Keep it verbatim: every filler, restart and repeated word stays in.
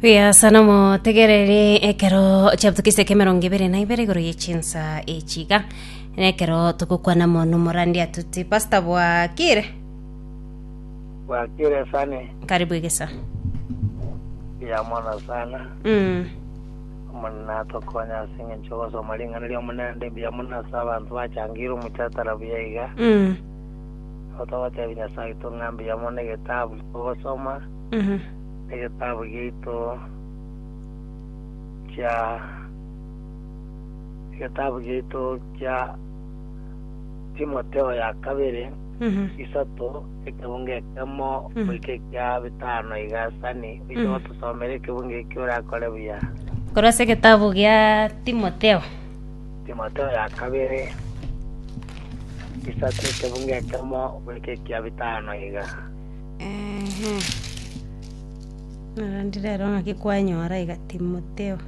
Buya sana motegereri ekero chiabutukise ekemerongo ebere na ibere igoro ye chinsa echiga nekero togokwana mono morandi atuti pastor bwakire Bwakire sane karibu egesa ya mono sana mm. omonene atokonya ase eng'encho ogosoma ring'ana ria omonene mbuya mono ase abanto bachangire omochatara buya iga Mm. abo togotebi nyasaye oito ng'a mbuya mono egetabu togosoma Mhm. egetabu giaito kia egetabu giaito kia Timotheo ya kabere Mhm. isato ekebungo ekemo Mm. goika ekia bitano iga sani oise Mm. gotusomera ekebungo eki orakore buya korwa ase egetabu gia timotheo Timotheo ya kabere isato ekebungo ekemo goika ekia bitano iga Ehe. Narandi rero ng'aki kwanyora iga timotheo